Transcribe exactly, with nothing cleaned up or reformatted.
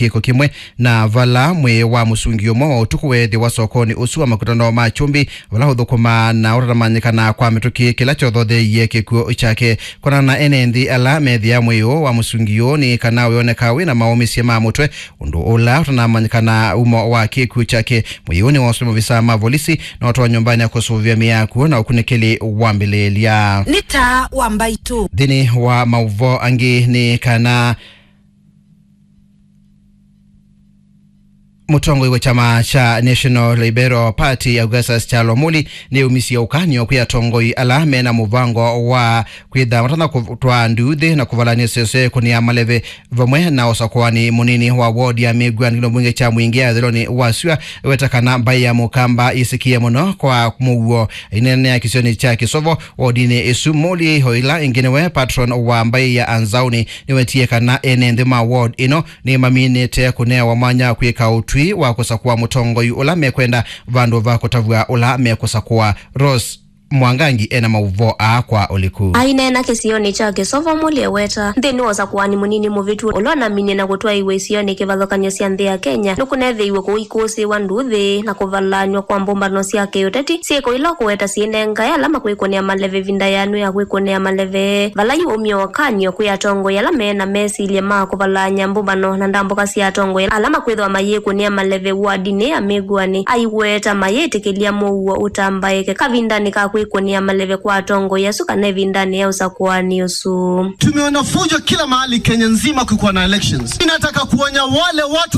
kĩko kĩmwe, na vala mwĩĩ wa mũsungi ũmwe wa ũtukũ weethĩwa sokonĩ ũsu wa makutano ma Kyumbi, vala ũthũkũmaa na ũtanamanyĩkana kwa mĩtũkĩ, kĩla kyothotheeie kĩkw'ũ kyake. Kũnana na ene nthĩ ala methĩa mwĩĩ ũũ wa mũsungi ũũ nĩ kana wĩoneka wĩ na maũmĩsye ma mũtwe, ũndũ ũla ũtanamanyĩkana umo wa kĩkw'ũ kyake. Mwĩĩ ũũ nĩwoswe maovisaa ma volisi na ũtwawa nyũmbanĩ ya kũsũvĩa mĩĩ ya kw'ũ na ũkunĩkĩli wambĩlĩĩlya. Nĩ taa wa mbaitũ. Nthĩnĩ wa maũvoo angĩ nĩ kana mũtongoi wa kyama kya National Liberal Party, Augustus Kyalo Muli, nĩumisye ũkany'o kwĩ atongoi ala mena mũvango wa kwĩtha matana kũtwaa nduuthĩ na kũvalany'a sese kũnĩa maleve vamwe na ũsakũani mũnini wa ward ya Mĩngwani kĩlungu mbunge kya Mwingĩ ya ĩthelonĩ wa syũa. Weta kana mbaĩ ya Mũkamba yĩsĩkĩe mũno kwa mũuo ĩneenea kĩsionĩ kya Kĩsovo wodinĩ ĩsu. Muli, o ĩla ĩngĩ nĩwe patron wa mbaĩ ya Anzauni, nĩwetie kana ene nthĩ ma ward ĩno nĩmaminĩte kũnewa mwanya kwĩka ũtwi wa kũsakũa mũtongoi ũla mekwenda vandũ va kũtavw'a ũla mekũsakũa. Rose Mwangangi ena maũvoo aa kwa ũliku. Aineena kĩsionĩ kya Kĩsovo, Muli eweta nthĩnĩ wa ũsakũani mũnini mũvĩtu ũla ũnaminie na kũtwaĩw'a isionĩ kĩvathũkany'o sya nthĩ ya Kenya, nĩkũneethĩiwe kũikũsĩĩwa nduuthĩ na kũvalanywa kwa mbũmbano sya kĩũteti, syĩko ila ũkũweta syĩnengae ala makwĩkũnĩa maleve ĩvinda yanu ya kwĩkũnĩa maleve. Vala yu ũmya ũkany'o kwĩ atongoi ala me na mesilya ma kũvalany'a mbũmbano na ndambũka sya atongoi ala makwĩthĩwa mayĩkũnĩa maleve wardinĩ ya Mĩngwani, aiweta mayĩtĩkĩlya mũuo ũtambaĩke kavindanĩ ka kwĩkũnĩa maleve kwa atongoi asu kana ĩvindanĩ ya ũsakũani ũsu. Tumeona fujo kila mahali Kenya nzima kukiwa na elections. Ninataka kuonya wale watu